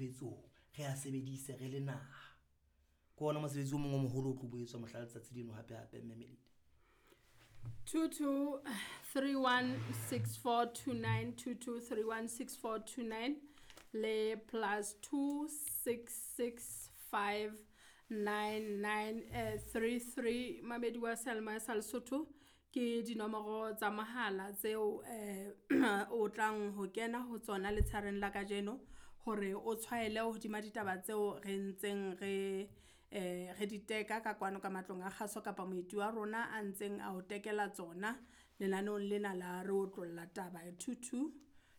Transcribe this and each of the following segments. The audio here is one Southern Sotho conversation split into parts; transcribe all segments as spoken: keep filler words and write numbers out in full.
tshebetsong, re a sebedise re le naha. Ke ona mosebetsi o mong o moholo o tlo bo etswa mohla letsatsi leno hape hape mme Melita. two two three one six four two nine two two three one six four two nine le plus two six six five nine nine eh, three three mamedi wa Selma sa Lesotho ke dinomoro tsa mohala tseo eh o tlang ho kena ho tsona letshareng la kajeno hore o tshwaele hodima ditaba tseo re ntseng re eh re di teka ka kwano ka matlong a kgaso kapa moeti wa rona a ntseng a o tekela tsona lenaneong lena la re otlolla taba two two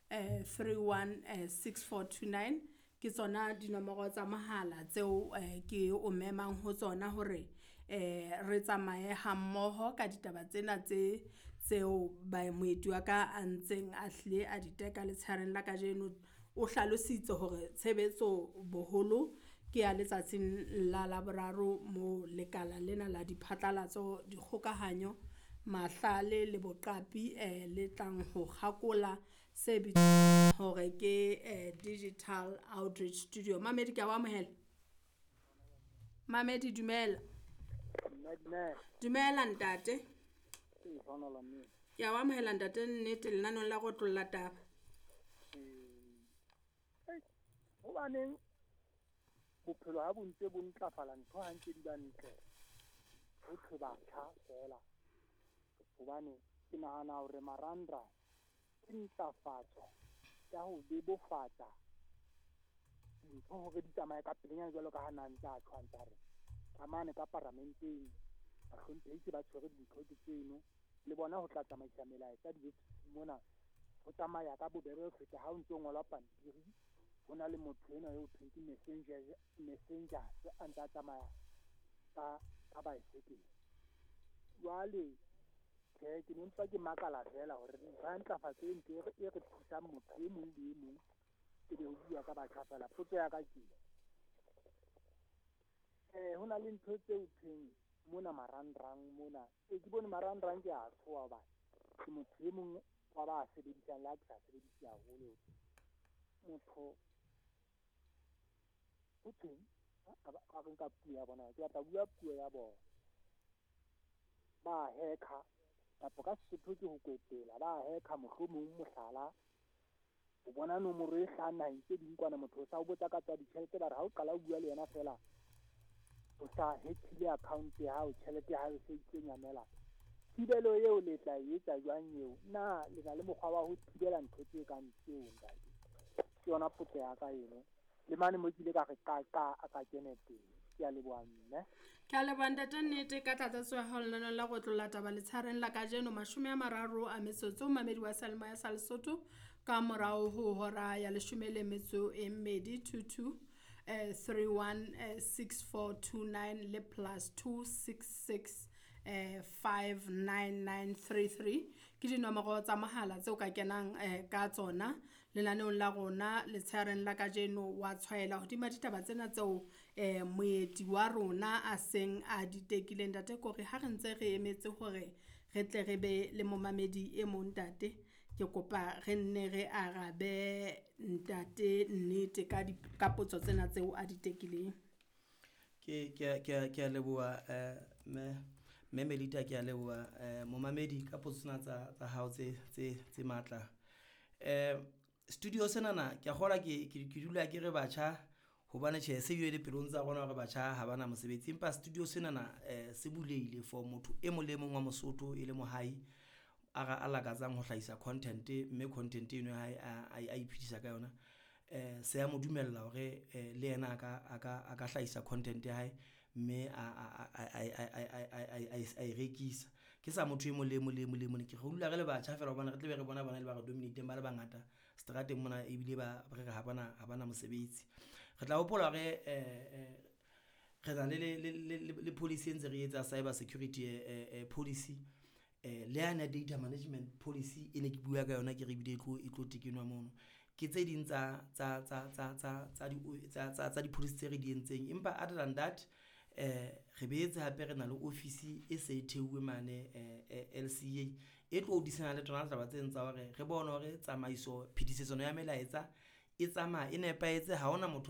eh three one eh six four two nine ke tsona dinomoro tsa mohala tseo eh ke o memang ho tsona hore eh re tsamaye ha mmoho ka ditaba tsena tse tseo ba moeti wa ka a ntseng a hlile a di teka letshareng la kajeno. O hlalositse hore tshebetso boholo ke ya letsatsing la Laboraro mo lekala lena la diphatlalatso, dikgokahanyo, mahlale le boqapi eh le tlang ho kgakola se bitswang hore ke eh digital outreach studio. Mamedi ke a o amohela. Mamedi dumela. Mme dumela. Dumela ntate. Ee, hlohonolola mme. Ke a o amohela ntate nnete lenaneong la go otlolla taba. Ee. Hobaneng bophelo ha bo ntse bo ntlafala ntho ha ntse di ba ntle ho thwe batjha feela, hobane ke nahana hore marangrang ke ntlafatso ya ho bebofatsa dintho hore di tsamaye ka pelenyana jwalo ka ha na ntse a tjho a ntse a re ka mane ka paramenteng bahlomphehi se ba tshwere dintho ke tseno le bona ho tla tsamaisa melaetsa diofising mona ho tsamaya ka bobebe ho feta ha o ntso ngola pampiri. Ho na le motho enwa eo thweng ke messenger, messenger a ntse a tsamaya ka, ka baesekele. Jwale tjhe, ke ne mpa ke makala feela hore ntho ya ntlafatso e ntle e re, e re thusang motho e mong le e mong e be ho bua ka batjha feela. Potso ya ka ke eh ho na le ntho tseo thweng mona marangrang mona. E ke bone marangrang ke a tshoha hobane ke motho e mong wa ba sebedisang le ha ke sa sebedise haholo. Motho ho thweng a ba a re nka puo ya bona, ke batla ho bua puo ya bona. Ba hacker kapa ka Sesotho ke ho kwetela, ba hacker mohlomong mohlala o bona nomoro e hlahang naheng tse ding kwana, motho o sa o botsa ka tsa ditjhelete, ba re ha o qala o bua le yena feela o sa hack-ile account ya hao, tjhelete ya hao e se itse nyamela. Thibelo eo le tla e etsa jwang eo? Na le na le mokgwa wa ho thibela ntho tse kang tseo ntate? Ke yona potso ya ka eno. Le mane mo ke ile ka re ka ka a ka kene teng. Ke a leboha mme. Ke a leboha ntate nnete ka tlatsetso ya hao lenaneong la go otlolla taba letshareng la kajeno mashome a mararo a metsotso mamedi wa Seyalemoya sa Lesotho ka morao ho hora ya leshome le metso e mmedi two two eh three one eh six four two nine le plus two six six eh five nine nine three three ke dinomoro tsa mohala tseo ka kenang eh ka tsona lenaneong la rona letshareng la kajeno wa tshwaela hodima ditaba tsena tseo eh moeti wa rona a seng a di tekileng. Ntate Kore ha re ntse re emetse hore re tle re be le momamedi e mong ntate, ke kopa re nne re arabe ntate nnete ka di, ka potso tsena tseo a di tekileng. Ke, ke, ke, ke a leboha eh mme, mme Melita, ke a leboha eh momamedi ka potso tsena tsa, tsa hao tse, tse, tse matla. Eh studio senana ke a kgolwa ke, ke, ke dula ke re batjha hobane tjhe se bile dipelong tsa rona hore batjha ha bana mosebetsi, empa studio senana eh se bulehile for motho e mong le mong wa Mosotho e le mohai a ra, a lakatsang ho hlahisa content, mme content eno ya hae a, a, a iphedisa ka yona. Eh se a mo dumella hore eh le yena a ka, a ka, a ka hlahisa content ya hae mme a, a, a, a, a, a, a, a, a, a, a e rekisa. Ke sa motho e mong le e mong le e mong le e mong, ke re dula re le batjha feela hobane re tle be re bona bona le ba re dominate-eng ba le bangata seterateng mona, ebile ba re re ha bana, ha bana mosebetsi. Re tla hopola hore eh, eh re na le, le, le, le, le policy e ntse re etsa cyber security eh, eh, policy eh le yane ya data management policy e ne ke bua ka yona, ke re ebile e tlo, e tlo tekenwa mono. Ke tse ding tsa, tsa, tsa, tsa, tsa, tsa di, tsa, tsa, tsa di-policy tse re di entseng. Empa other than that eh re boetse hape re na le office e se e theuwe mane eh, L C A e tlo hodisana le tsona taba tse tsa hore re bone hore tsamaiso phetisetso ya melaetsa e tsamaya e nepahetse, ha hona motho